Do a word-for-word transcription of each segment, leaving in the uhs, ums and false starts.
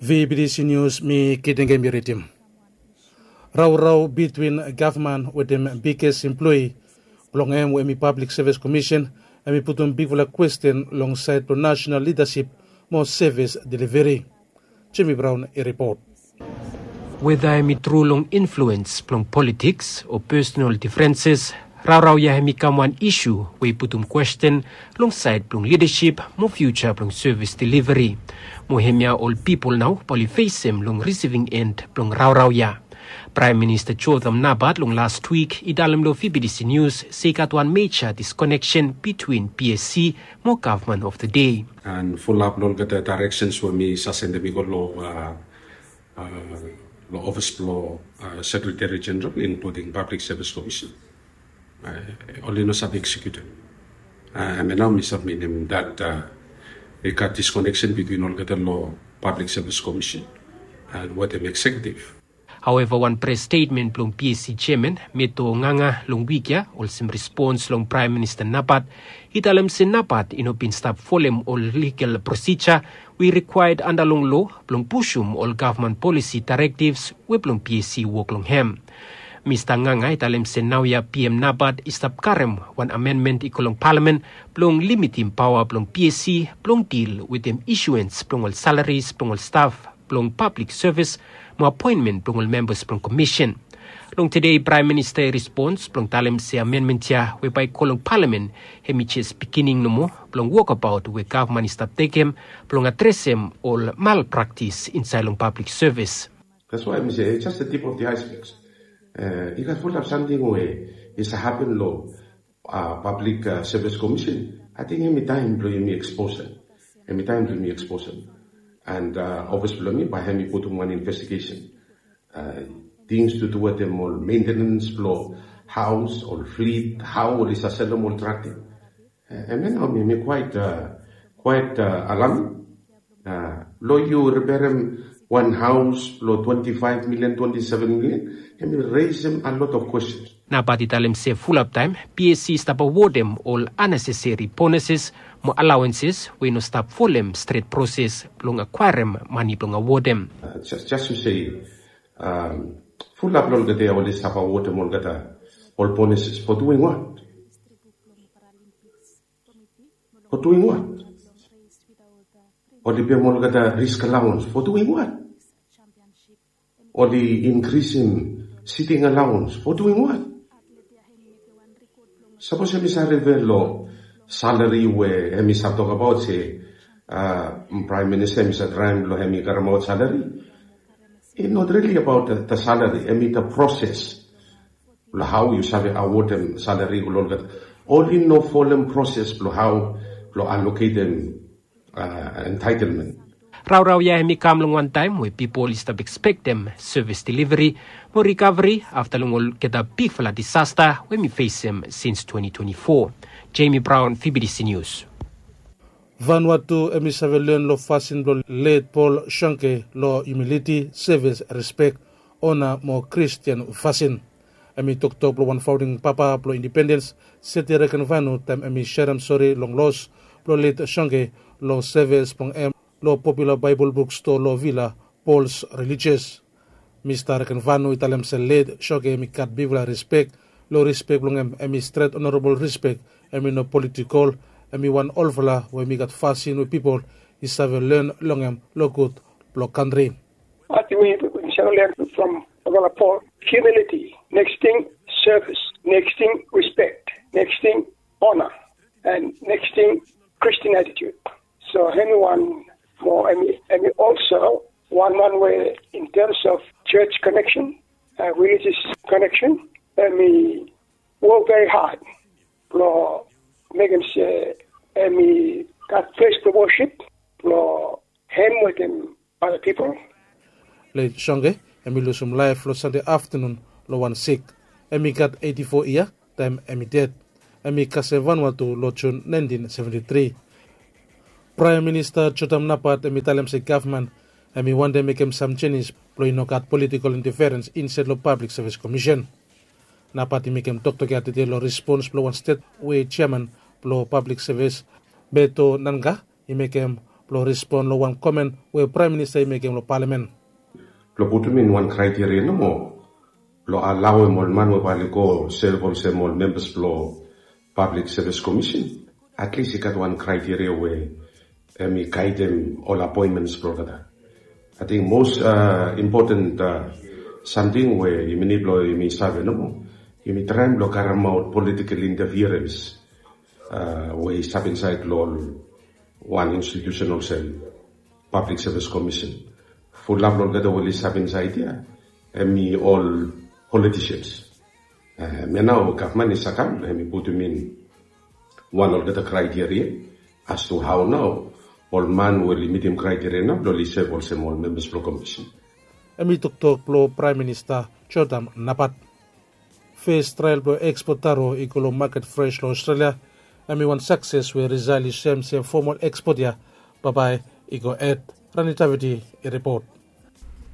V B D C News, mi Kidengem i ridim. Raorao bitwin gavman wetem biges emploe blong hem we hemi Pablik Sevis Komisen, hemi putum bigfala kwesten long saed blong nasenal lidasip mo sevis deliveri. Jimmy Brown i ripot. Weda hemi tru long influens blong politiks o pesonal difrenses, raorao ya hemi kam wan isu we i putum kwesten long saed blong lidasip mo fiuja blong sevis deliveri. Mo hemia ol pipol nao bae oli fesem long risiving en blong raorao ya. Praem Minista Jotham Napat long las wik i talem long V B D C News se i gat wan meja diskoneksen bitwin P S C mo gavman of the dei. And fulap long olgeta directions we mi sasendem i go long, uh, uh, long office blong, uh, Secretary General, including Public Service Commission. Uh, oli no save execute. Uh, and now mi submitim that, uh, i gat disconnection between olgeta long Public Service Commission and wetem executive. Haueva, wan pres stetmen blong P S C jeaman, Meto Nganga, long wik ya, olsem respons long Praem Minista Napat, i talem se Napat i no bin stap folem ol ligal prosija we i rikwaed anda long loa blong pusum ol gavman polisi daerektivs we blong P S C wok long hem. Mista Nganga i talem se naoia P M Napat i stap karem wan amenmen i go long palamen blong limitim paoa blong P S C blong dil wetem isuens blong ol salaris blong ol staf blong pablik sevis mo apoenmen blong ol membas blong komisen. Long tede Praem Minista i respons blong talem se amenmen ya we bae i go long palamen, hemi jes bigining nomo blong wokabaot we gavman i stap tekem blong adresem ol malpraktis insaed long pablik sevis. That's why mi se, eh, just the tip of the iceberg. Eh, i gat fulap samting we i save hapen long, uh, Public, uh, Service Commission. Ating hemi taem blong yumi eksposem. Hemi taem blong yumi eksposem. And, uh, office blong mi bae hemi putum wan investigation. Uh, things to do wetem ol maintenance blong haos, ol flit, hao oli save selem ol trak ya. Eh, hemia nao mi, mi quite, uh, quite, uh, alarming. Uh, long yu riperem wan haos blong twenty-five million, twenty-seven million, hemi raisem a lot of questions. Napat i talem se fulap taem P S C i stap awodem ol unnecessary bonuses mo allowances we i no stap folem stret proses blong akwaerem mane blong awodem. Uh, just, just to say, um, fulap long olgeta oli stap awodem olgeta ol bonuses for doing what? For doing what? Oli pem olgeta risk allowance for doing what? Oli inkrisim sitting allowance for doing what? Sapos hemi save rifea long salari we hemi save tokbaot se, uh, Praem Minista hemi save traem blong hemi karemaot salari. It's not really about the, the salary, hemi the process. Blong hao yu save awodem salari go long olgeta. Oli no folem proses blong hao blong aloketem, uh, entitlement. Raorao ya hemi kam long wan taem we pipol i stap ekspektem sevis deliveri mo rikaveri afta long olgeta bigfala disasta we hemi fesem sins twenty twenty-four. Jamie Brown, V B D C News. Vanuatu hemi save len long fasin blong let Paul Schonke long humiliti, sevis, rispek, ona mo Kristian fasin. Hemi toktok blong wan faonding papa blong indipendens, Seti Rekenvanu, taem hemi serem sore long los blong let Schonke long sevis blong hem long popula Baebol bukstoa long vila, Paul's Religious. Mista Rekenvanu i talem se let Schonke hemi gat bigfala rispek. Long rispek blong hem, hemi stret onorabol rispek, hemi no politikol, hemi wan olfala we hemi gat fasin we pipol i save len long hem long gud blong kantri. Ating we yu save len from olfala Paul, humiliti, neks ting sevis, neks ting rispek, neks ting ona, and neks ting Kristian atitut. So hemi wan mo, hemi, hemi also wan man we in terms of church connection, uh, religious connection, hemi wok very hard blong mekem se hemi gat ples blong wosip blong hem wetem other pipol. Let Schonke hemi lusum laef long Sande aftanun long wan sik. Hemi gat eiti fo yia taem hemi ded. Hemi kasem Vanuatu long Jun naentin seventi tri. Praem Minista Jotham Napat hemi talem se gavman hemi wantem mekem sam jenis blong i no gat politikol intaferens insaed long Pablik Sevis Komisen. Napat i mekem toktok ya tede long respons blong wan stet we jeaman blong Pablik Sevis, Meto Nganga, i mekem blong respon long wan komen we Praem Minista i mekem long palamen. Blong putum in wan kraiteria nomo blong alaoem ol man we bae oli go sev olsem ol membas blong Pablik Sevis Komisen, atlis i gat wan kraiteria we hemi gaedem ol apoenmens blong olgeta. Ating mos impoten samting we yumi nid blong yumi save nomo, yumi traem blong karemaot politikel intafirens we i stap insaed long ol wan institiusen olsem Pablik Sevis Komisen. Fulap long olgeta we oli stap insaed ya hemi ol politisians. Hemia nao gavman i sakam hemi putum in wan olgeta kraiteria as tu hao nao ol man we oli mitim kraiteria nao blong oli sev olsem ol membas blong komisen. Hemi toktok blong Praem Minista Jodam Napat. Fes trael blong ekspot taro i go long maket fres long Australia. Hemi wan sakses we risael i soem se fomol ekspot ya bambae i go hed. Rani Taviti i ripot.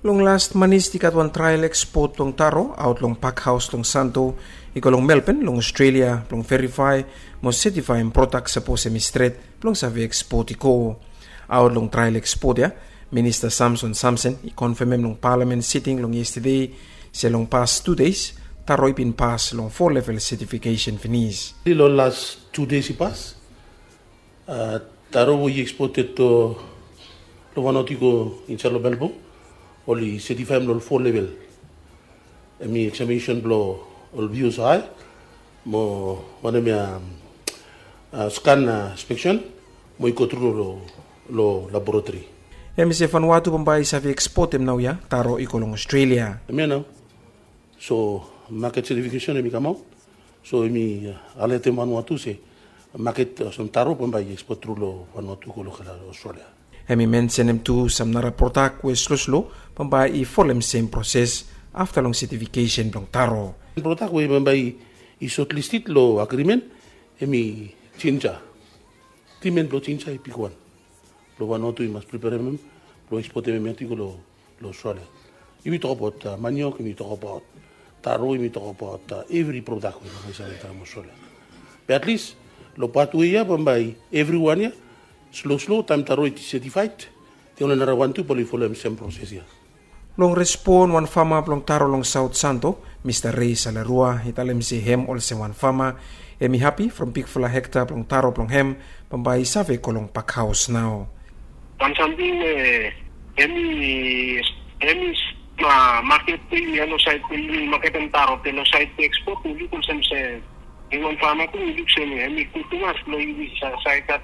Long las manis i gat wan trael ekspot blong taro aot long pakhaos long Santo i go long Melbourne long Australia blong verifae mo setifaem prodak sapos hemi stret blong save ekspot i go. Aot long trael ekspot ya, Minista Samson Samson i konfemem long palamen siting long yestade se long pas tu deis taro i bin pas long fo level setifikesen finis. Long las tu deis i pas, taro we i ekspot long Vanuatu i go insaed long Melbourne oli setifaem long fo level. Hemi eksaminesen blong ol vius hae mo wanem ya, skan inspeksen mo i go tru long laboratori. Hemi se Vanuatu bambae i save ekspotem naoia taro i go long Australia. Hemia nao so maket setifikesen hemi kamaot. So hemi alertem Vanuatu se maket olsem taro bambae i ekspot tru long Vanuatu go long Australia. Hemi mensenem tu sam nara prodak we sloslo bambae i folem sem proses afta long setifikesen blong taro. Prodak we bambae i sotlisted long agrimen hemi jinja. Timen blong jinja i bigwan. Blong Vanuatu i mas preperem hem blong ekspotem hem ya tu i go long Australia. Yumi tokbaot maniok, yumi tokbaot taro, yumi tokbaot evri prodak we bambae i save kam long Australia. Be atlis long pat we ya bambae evriwan ya sloslo taem taro i setifaed, de ol nara wan tu bae oli folem sem proses ya. Long respon wan fama blong taro long Saot Santo, Mista Rei Salarua i talem se hem olsem wan fama hemi hapi from bigfala hekta blong taro blong hem bambae i save go long pakhaos nao. Wan samting we hemi hemi maket blong yumi ya long saed blong yumi maketem taro be long saed blong ekspot mi luk olsem se hemi wan fama tu mi luk se hemi gud tumas blong yumi save gat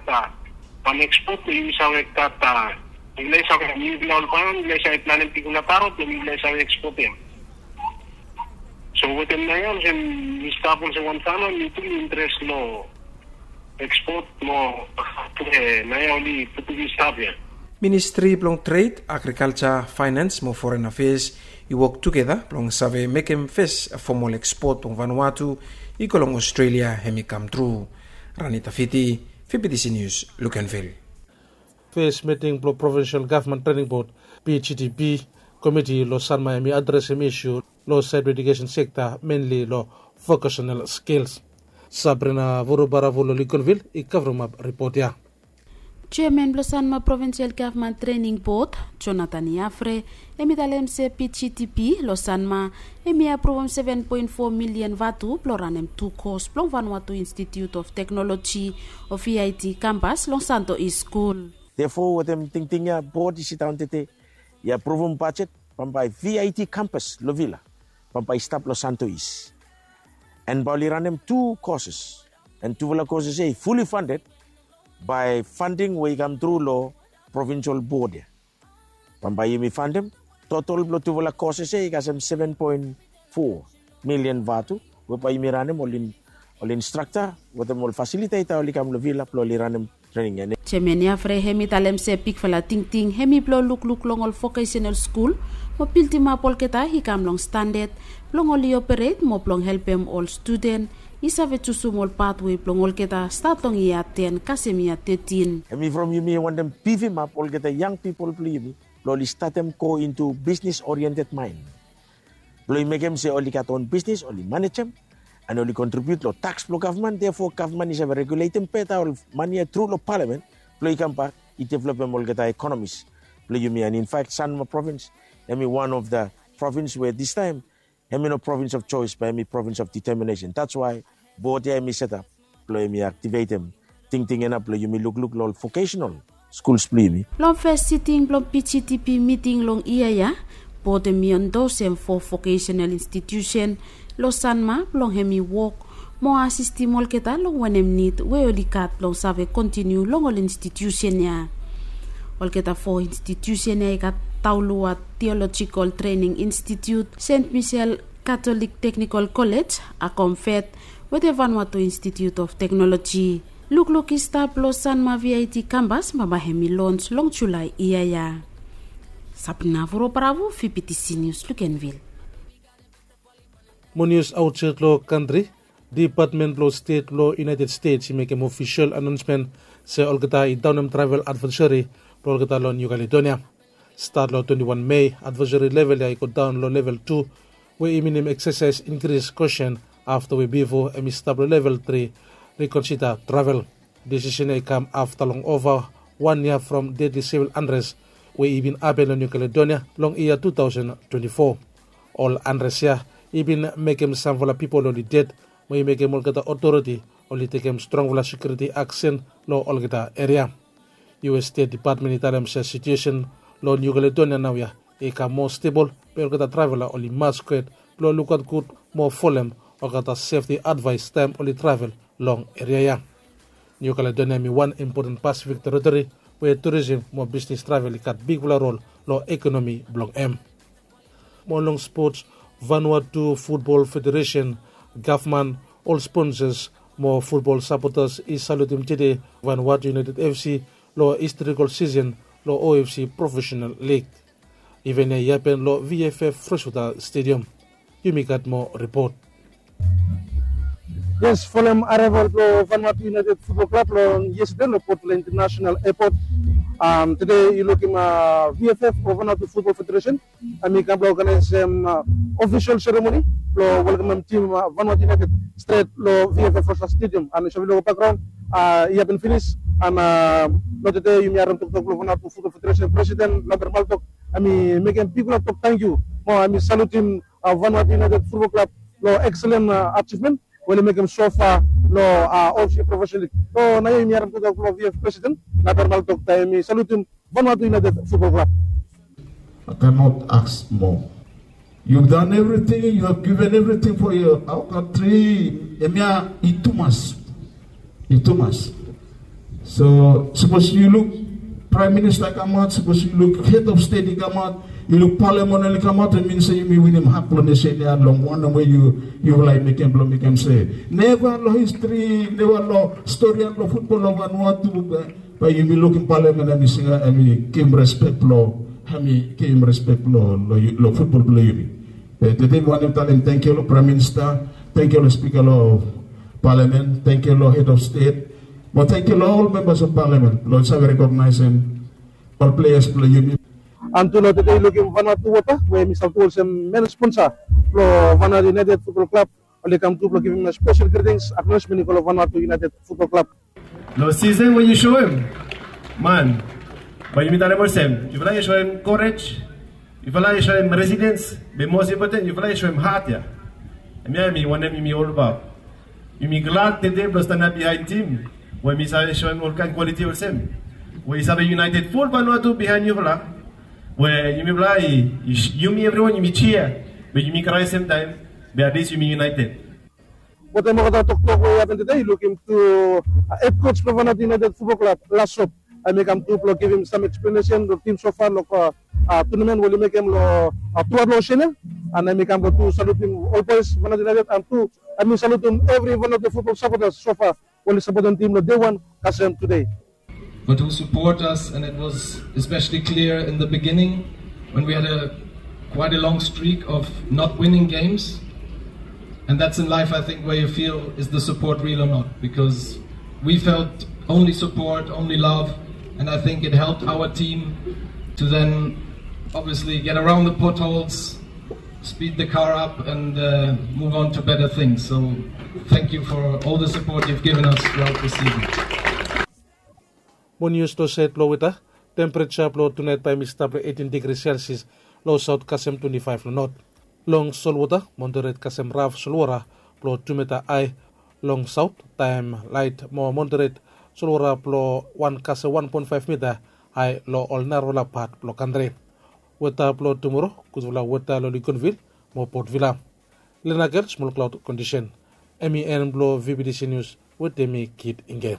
wan ekspot blong yumi save gat. Mifala i save mifala ol fama mifala i save planem bigfala taro blong mifala i save ekspotem. So wetem naoia olsem mi stap olsem wan fama mi tu mi interes long ekspot mo naoia oli putum i stap ya. Ministri blong Tred, Agrikalja, Faenans mo Foren Afeas i wok tugeta blong save mekem fes fomol ekspot blong Vanuatu i go long Australia hemi kamtru. Rani Tafiti, VBTC News, Luganville. Fes miting blong Provinsel Gavman Trening Bod, PGTP, komiti long Sanma hemi adresem isu long saed blong edukesen sekta, menli long vokasenal skils. Sabrina Vurubaravu long Luganville i kavremap ripot ya. Jeaman blong Sanma Provinsel Gavman Trening Bod, Jonathan Yafre, hemi talem se PGTP long Sanma hemi apruvum seven poen fo milian vatu blong ranem tu kos blong Vanuatu Institute of Technology o VIT kampas long Santo East Skul. Therefore wetem tingting ya bod i sidaon tede i apruvum bajet bambae VIT kampas long Vila bambae i stap long Santo East. And bae oli ranem tu koses, and tufala koses ya i fully funded by funding we i kamtru long provinsel bod ya. Bambae yumi faenem totol blong tufala koses ya i kasem seven poen fo milian vatu we bae yumi ranem ol instrakta wetem ol fasiliteta oli kam long Vila blong oli ranem trening ya. Jeaman Yafre hemi talem se bigfala tingting hemi blong lukluk long ol vokesenal skul mo bildimap olgeta i kam long standad blong oli operet mo blong helpem ol studen i save jusum ol patwe blong olgeta stat long yia ten kasem yia tetin. Hemi from yumi wantem bifimap olgeta yang pipol blong yumi blong oli statem go intu bisnis oriented mind. Blong i mekem se oli gat on bisnis oli manejem and oli kontribiut long taks blong gavman, therefore gavman i save reguletem beta ol mane ya tru long palamen blong i kambak i developem olgeta ekonomis blong yumi. And in fact, Sanma provins hemi one of the provins we distaem hemi no provins of choice, be hemi provins of determination. That's why bod ya hemi setap blong hemi aktivetem tingting ya nao blong yumi lukluk long ol vocational skuls blong yumi. Long fes siting blong PGTP miting long yia ya, bod hemi endosem fo vocational institusen long Sanma blong hemi wok mo asistem olgeta long wanem nid we oli gat blong save kontiniu long ol institusen ya. Olgeta fo institusen ya i gat Taulua Theological Training Institute, Saint Michel Catholic Technical College, Akomfet, wetem Vanuatu Institute of Technology. Lukluk i stap long Sanma VIT kambas bambae hemi lons long Julae yia ya. Sabrina Vuro Bravo, VBTC News, Luganville. Mo nius aotsait long kantri. Dipatmen blong Stet blong United States i mekem ofisol anaonsmen se olgeta i daonem travel advaesari blong olgeta long Niu Kaledonia. Stat long twenti wan Mei, advaesari level ya i godaon long level tu, we i minim eksesaes inkris kosen afta we bifo hemi stap long level tri, rikonsida travel. Disisen ya i kam afta long ova wan yia from dedli sivil anres we i bin hapen long Niu Kaledonia long yia tu taosen twenti fo. Ol anres ya i bin mekem samfala pipol oli ded, mo i mekem olgeta otoriti oli tekem strongfala sekiuriti aksen long olgeta eria. US Stet Dipatmen i talem se situesen long Niu Kaledonia naoia i kam moa stebol, be olgeta travela oli mas gud blong lukaot gud mo folem olgeta sefti advaes taem oli travel long eria ya. Niu Kaledonia hemi wan impoten Pasifik teritori we turisem mo bisnis travel i gat bigfala rol long ekonomi blong hem. Mo long spots, Vanuatu Futbol Federesen, gavman, ol sponsas mo futbol sapotas i salutem tede Vanuatu United FC long historikol sisen long OFC Profesenal Lig. Iven ya i hapen long VFF Freshwater Stadium. Yumi gat moa ripot. Yes, folem areval blong Vanuatu United Futbol Klab long yestede long Port Vila International Airport. Tede yu lukim VFF o Vanuatu Futbol Federesen hemi kam blong oganaesem ofisol seremoni blong welkamem tim Vanuatu United stret long VFF Freshwater Stadium. And yu save long bakgraon i hapen finis. And long tede yumi harem toktok blong Vanuatu Futbol Federesen presiden Lambert Maltok hemi mekem bigfala tok tangkiu mo hemi salutem Vanuatu United Futbol Klab long ekselen ajivmen we oli mekem sofa long OFC Profesenal Lig. So naoia yumi harem toktok blong VFF presiden Lambert Maltok taem hemi salutem Vanuatu United Futbol Klab. I cannot ask more. You've done everything, you have given everything for your, our country. Hemia i tumas. I tumas. So sapos yu luk Praem Minista i kamaot, sapos yu luk Hed of Stet i kamaot, yu luk Palamen oli kamaot, hemi min se yumi winim hat blong nesen ya long wanem we yu, yufala i mekem blong mekem se neva long histri, neva long stori ya long futbol long Vanuatu, bae yumi lukim Palamen hemi singa, hemi givim respek blong, hemi givim respek long, long futbol blong yumi. Be tede mi wantem talem tangkiu long Praem Minista, tangkiu long Spika long Palamen, tangkiu long Hed of Stet, mo tangkiu long ol membas of Palamen blong oli save rekognaesem ol pleas blong yumi. And tu long tede yu lukim Vanuatu Wota we hemi serve tu olsem men sponsa blong Vanuatu United Futbol Klab, oli kam tu blong givim spesel gritings, aknolejmen i go long Vanuatu United Futbol Klab. Long sisen we yu soem, man, bae yumi talem olsem, yufala yu soem korej, yufala yu soem resilens, be mos impoten yufala yu soem hat ya. Hemia hemi wanem yumi olbaot. Yumi glad tede blong stanap biaen tim we hemi save soem olkaen kwaliti olsem, we i save yunaeted ful Vanuatu biaen yufala. We yumifala i, yumi evriwan yumi jia, be yumi krae semtaem, be atlis yumi yunaeted. Wetem olgeta toktok we i hapen tede, yu lukim tu hed koj blong Vanuatu United Futbol Klab, Lasop, hemi kam tu blong givim sam eksplenesen long tim sofa long tunamen we oli mekem long truaot long osen ya. And hemi kam blong tu salutem ol boes Vanuatu United and tu hemi salutem evri Vanuatu futbol sapotas sofa we oli sapotem tim long dei wan kasem tede. But who support us, and it was especially clear in the beginning when we had a quite a long streak of not winning games. And that's in life, I think, where you feel, is the support real or not? Because we felt only support, only love, and I think it helped our team to then obviously get around the potholes, speed the car up, and uh, move on to better things. So thank you for all the support you've given us throughout the season. Mo nius long saed blong weta, tempereja blong tunaet bae mi stap long eitin digri selsias long saot kasem twenti faef long not. Long solwota, moderet kasem raf solwota blong tu mita ae long saot, taem laet mo moderet solwota blong wan kasem wan poen faef mita ae long ol narafala pat blong kantri. Weta blong tumoro, gudfala weta long ligonvil mo potvila. Lenakel smol klaod kondisen. Em i en blong vbtc nius wetem mi kid ingge.